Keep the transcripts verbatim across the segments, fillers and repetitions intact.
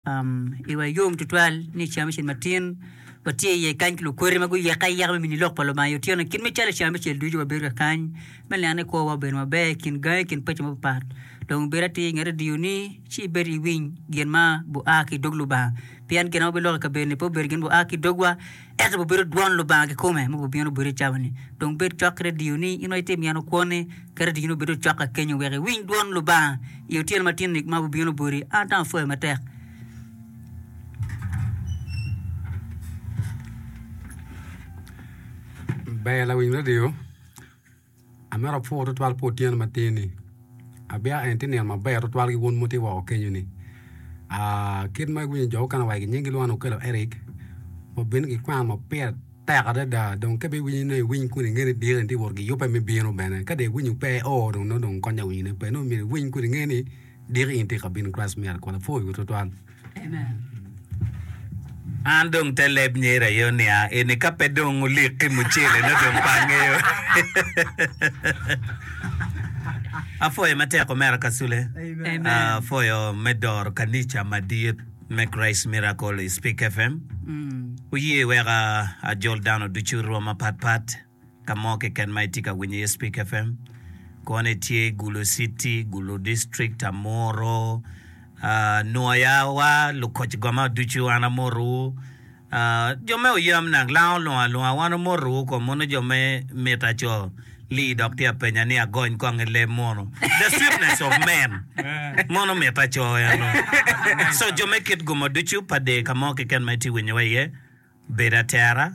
Iwa yom tutwal ni i ceng abicel matin watye iye kany ki lukweri ma guyeke ayeka me mini lok pa Lubanga i otyeno kit me calo i ceng abicel ducu wabedo ka kany me neno ni kwowa obedo maber i kin gangi i kin paci mapat dong bed atir i nget redioni ci ibed iwiny gin ma bua ki i dog Lubanga pien gin ma wabiloko i kabedo-ni pe obedo gin bua ki i dogwa ento obibedo dwon Lubanga kikome ma obibino boti i cawa-ni dong bed cok ki redioni in ma itye myeno kwoni Ket redioni obed ocok ka kenyo wek iwiny dwon Lubanga i otyeno matin-ni ma obibino boti. An dong apwoyo matek. Ber lawiny redio, amito apwo tutwal pi otyeno matin-ni. Abyeka eni tye nino maber tutwal ki wun ma wutye woko kenyo-ni. Kit ma iwinyo jo mukene owaco ki nying gilwongo ni Okello Eric obino ki kwena ma pire tek adada dong ka ibiwinyo nongo iwiny kun inge ni diki ni tye wot ki yubbe me bino bene ka dong iwinyo pe o dong nongo dong kony awinyone pe nongo myero iwiny kun inge ni diki in tye ka bino Christ miracle apwoyo tutwal. An dong te leb nyeri aye onia eni ka pe dong olik ki mucele nongo dong pe angeyo. Apwoyo matek omera Kasule. Apwoyo me doro kanica madit me Christ Miracle i Speak FM. Wuye wek ajol dano ducu rwom mapat pat ka mo keken ma itye ka winyo iye Speak FM. Kono itye Gulu City, Gulu District, Amuru, Nwoya wa lukoc goma ducu an amotowu. Jo me oyam nak lango lungo alunga wan omotowu kom mono jo me mita co Lee dok tye apenya ni agony kong i leb mono the sweetness of men mono mita co eno so jo me kit gumo ducu pa der ka mo keken ma itye winyowa iye bed atera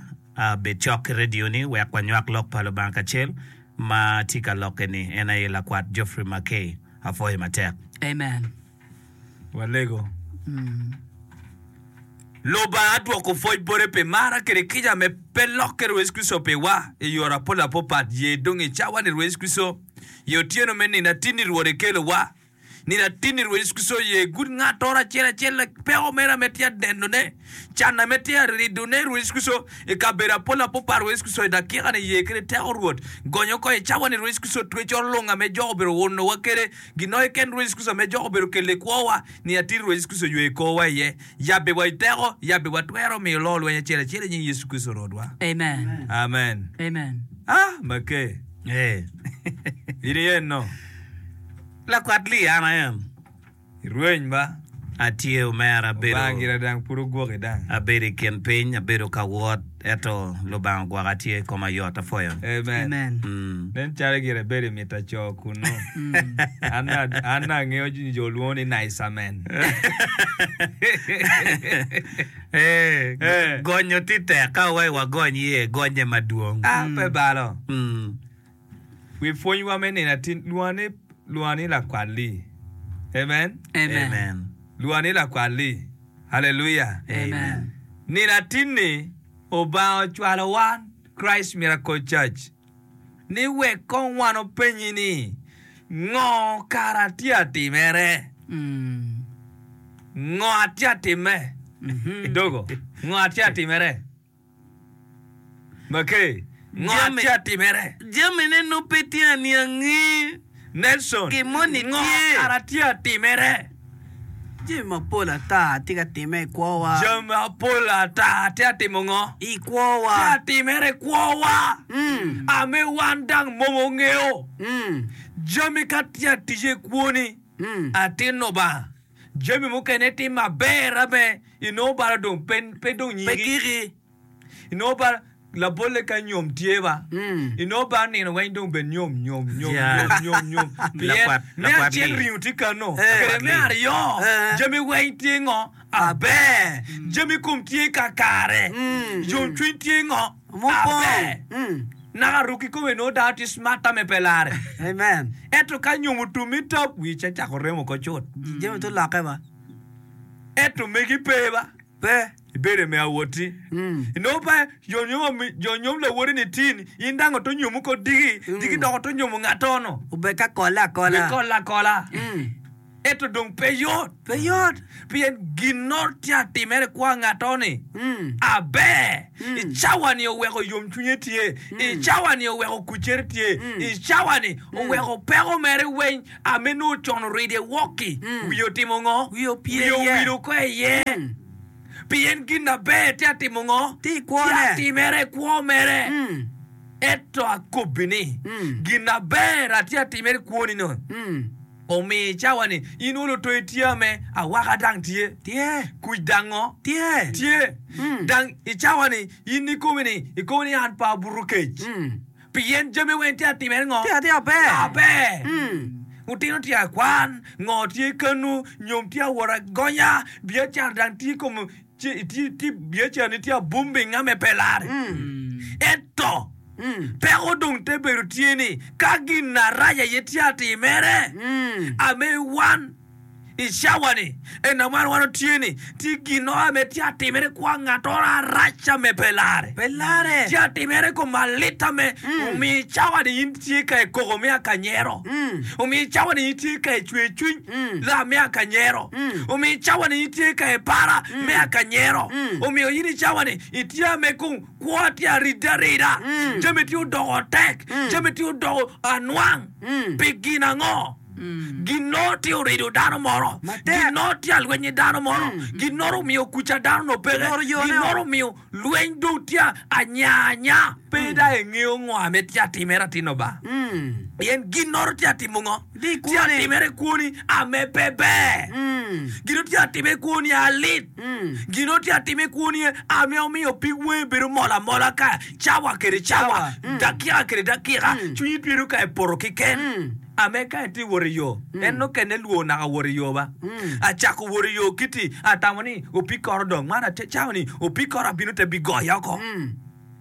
bed cok ki radio ni wek wanywak lok pa Lubanga kacel ma tye ka lokke ni en aye lakwat Geoffrey Mackay apwoyo matek. Amen. Walego. Lubanga dwoko pwoc bote pi mara kede kica me pe lokke Rwot Yecu Kricito piwa i yore apol apopat. Ye dong i cawa-ni Rwot Yecu Kricito ye otyeno me nino atinni Rwot ekelowa. Nino atinni Rwot Yecu Kricito ye gud ngattoro acel acel peko mere ame tye adenone, can ame tye aridone Rwot Yecu Kricito i kabedo apol apopat Rwot Yecu Kricito i dakika-ni ye kede teko Rwot gonyo oko i cawa-ni Rwot Yecu Kricito twecoro lung ame jok obedo unowa kede Gin keken Rwot Yecu Kricito me jok obedo kelo i kwowa, ni atir Rwot Yecu Kricito ywe i korwa iye, yabbe wa i teko, yabbe wa twero miyo loo lweny acel acel i nying Yecu Kricito Rwotwa. Amen. Amen. Amen. Ah, make. Eh. In iye no. Lakwat Lee an aye. Irweny ba. Atye omera, abedo, Lubanga gira dang pud ogwoki dang. abedo i kin piny, abedo ka wot, ento Lubanga ogwoka atye koma yot, apwoyo. Amen. Amen. Mm. Nen calo gire bedo i mita co kunnu. An an angeyo ni jo lwongo ni nice amen. Eh, Eh. gonyo tye tek ka wai wagony iye gonye madwong. Ah, pe balo. Mm. Wi pwonywa me nino atin, lwonga ni, lwonga ni lakwal-li. Amen. Amen. Amen. Lwonga ni lakwal-li. Haleluya. Amen. Nino atin-ni, Obanga ocwalo wan, Christ Miracle Church, ni wek kong wan openyi ni, Ngo kara atye atimere? Mm. Ngo atye atime? Dogo, ngo atye atimere? Make, ngo Jami- atye atimere? Jamine nongo pe tye aniangi. Nelson, Gin moni ngo tye. kara tye atimere? Jami mapol ata tye ka timme i kwowa. Jami mapol ata tye atimo ngo? I kwowa. Tye atimere i kwowa. Mm. Ame wan dang mom ongeo. Mm. Jami ka tye atic i kwoni, Mm. atin Lubanga. Jami mukene tye maber ame inongo balo dong pe pe dong Pe nyigi. giki. Inongo balo labolle ka nyom tye ba. Mm. Inongo balo nino weng dong bed nyom nyom nyom Yeah. nyom nyom nyom. Pien Lakwat- me lakwat acel li. ringo tye kano, Eh. kede me aryo Eh. jami weng tye ngo aber. Jami kom tye kakare. Mm. Yomcwiny tye ngo Mupong. aber. Mm. Naka ruk kikome nongo dano tye smart ame pe lare. Amen. Ento ka nyom otum i top, wi ce cako remo oko cut. Jami to lokke ba. Ento megi pe ba. Pe. Ibedo i me awoti. Mm. Inongo pe jo nyom ami- jo nyom lawoti ni tin, in dang oto nyomo ko diki, diki dok oto nyomo ngatto-nu. Obed ka kolle akola. Bikolle akola. Mm. Ento dong pe yot. Pe yot. Pien ginnoro tye atimere i kwo ngatto-ni Mm. aber. I cawa-ni oweko yomcwinye tye. I cawa-ni oweko kuccere tye. I cawa-ni oweko peko mere weng ame nongo con oride wok-ki. Wiye otimo ngo? Wiye opye Wiye iye. owilo oko iye. Pien gin aber tye atimo ngo? Tye i kwone. Tye atimere i kwo mere. Mm. Ento akobbi ni, Mm. gin aber atye atimere i kwoni-ni, Mm. Omiyo i cawa-ni, in olo to itye ame awaka dang tye? Tye. Kuc dang ngo? Tye. Tye. Mm. Dang i cawa-ni, in ikomi ni, ikomi ni an pe abuto kec. Mm. Pien jami weng tye atimere ngo? Tye atir aber. Aber. Mm. Otino tye akwan, ngo tye kanu, nyom tye awot agonya, biacara dang tye i kom biacarani tye abumbing ame pe lare. Ento, Mm. peko dong te bedo tye ni, ka gin arac aye tye atimere, Mm. ame wan i cawa-ni, en wan wan otye ni, tye gin ame tye atimere kwa ngatoro arac ame pe lare. Pe lare. Tye atimere kom alit ame omiyo i cawa-ni in tye ka i koko me akanyero. Mm. Omiyo i cawa-ni in tye ka i cwer cwiny Mm. la me akanyero. Mm. Omiyo i cawa-ni in tye ka i para me akanyero. Mm. Omiyo in i cawa-ni itye ame kong kwo tye aridde arida. Mm. Jami tye odoko tek. Mm. Jami tye odoko anwang. Mm. Pi gin ango? Ginnoro tye orido dano moro. Matek. Ginnoro tye alwenyo dano moro. Ginnoro omiyo kuca dano no peke. Ginnoro yone Ginnoro o. omiyo lweny dong tye anya anya. Pe dong ingeyo ngo ame tye atimere atino ba. Mm. Pien ginnoro tye atimo ngo? Tye i Tye kwoni. atimere i kwoni ame pe ber. Mm. Gino tye atime i kwoni alit. Mm. Gino tye atime i kwoni ame omiyo pig wangi bedo mol amola ka cawa kede cawa, Cawa. Mm. dakika kede dakika, Mm. cwinyi bedo ka epoto keken. Mm. Ame ka itye wot i yo, en nokene lwor naka wot i yo ba. Mm. Acako wot i yo kiti, atamo ni opi koro dong man ate cawa ni opi koro abino te bigoya oko. Mm.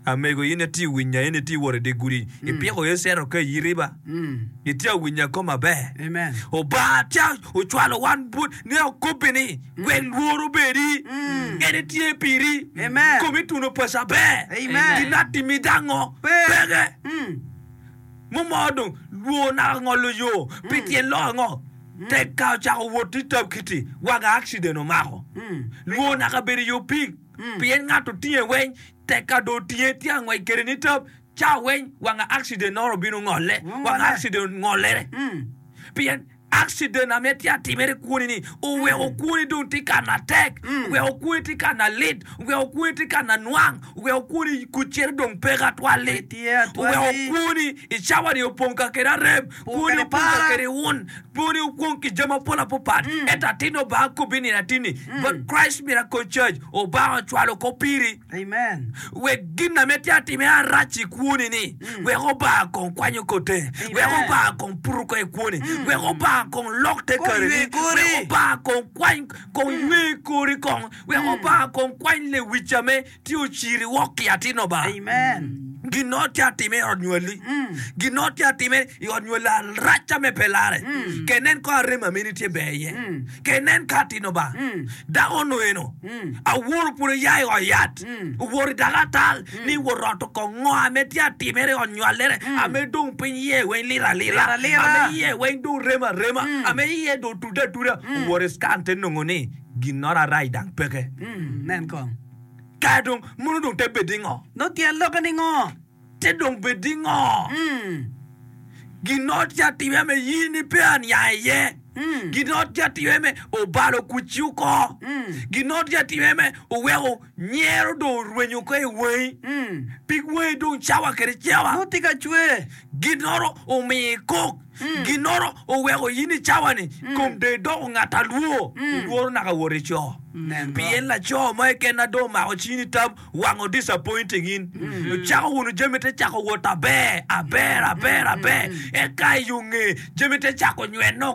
Amego in itye winya in itye wot i dye gudi, ipiko icito ka i riba. Mm. Itye awinya kom maber. Amen. Obanga tye ocwalo wan but ni okobbi ni wek lworo obedi. En etye piri. Amen. Komi tuno pesa ber. Amen. Gin atimi dango Pe. peke. Mm. Mumo dong lwor naka ngolo yo pi tyen lok ango? Tek ka ocako wot i tab kiti wanga accident omako. Mm. Lwor naka bedo i yo pig pien ngat otinge weng tek ka dong otinge tye angwec kede ni tab ca weng wanga accident noro obino ngole wanga accident ngolere. Mm. Pien accident ame tye atimere kwoni ni oweko kwoni dong tye ka na tek, oweko kwoni tye ka na lit, oweko kwoni tye ka na nwang, oweko kwoni kucere dong peke atwal-li. Tye atwal-li. Oweko kwoni i cawa-ni opong ka kede arem, kwoni kede opong ka para. kede wun, kwoni opong ki jami mapol apapat. Ento atin Obanga kobbi nino atin-ni, but Christ Miracle Church, Obanga ocwalo ko piri. Amen. Wek gin ame tye atime arac i kwoni ni, wek Obanga kong kwanyo kote, wek Obanga kong puto ko i kwoni, wek Obanga kong lok te Kong kareni, ywe kori. wek Obanga kong kwany kong ywe kori kong, wek Obanga kong kwany lewic ame tye ociri wok ki atin Obanga. Amen. Gin-no tye atime i ot nywalli. Gin-no tye atime i ot nywalli arac ame pe lare. Ke nen ko arem ameni tye ber iye. Ke nen ka atin Obanga. Dako ono eno, aworo pud oya i ot yat, oworo i dako atal, ni wot roto kong ngo ame tye atimere i ot nywallere, ame dong piny iye weng lit alita, Lit alita. ame iye weng dong rem arema, ame iye dong tudde atuda, oworo i scan te nongo ni ginnoro arac dang peke. Mm. Nen kong. Ka dong mono dong te bedi ngo? No tyen lokke ni ngo? Te dong bedi ngo? Mm. Gin-no tye atime me in ni pe aniang iye. Mm. Gin-no tye atime me obalo kucci oko. Mm. Gin-no tye atime me oweko nyero dong orwenyo oko i wangi. Mm. Pig wangi dong cawa kede cawa. No tye ka cwer. Ginnoro omiyo ikok. Ginnoro oweko in i cawa-ni kom dong idoko ngat alwor. Ilworo naka wot i co. Nen go. Pien laco mo keken na dong omako cini tam wango disappointing in. Ocako wunu jami te cako wot aber, aber, aber, aber. Eka i yo nge jami te cako nyweno.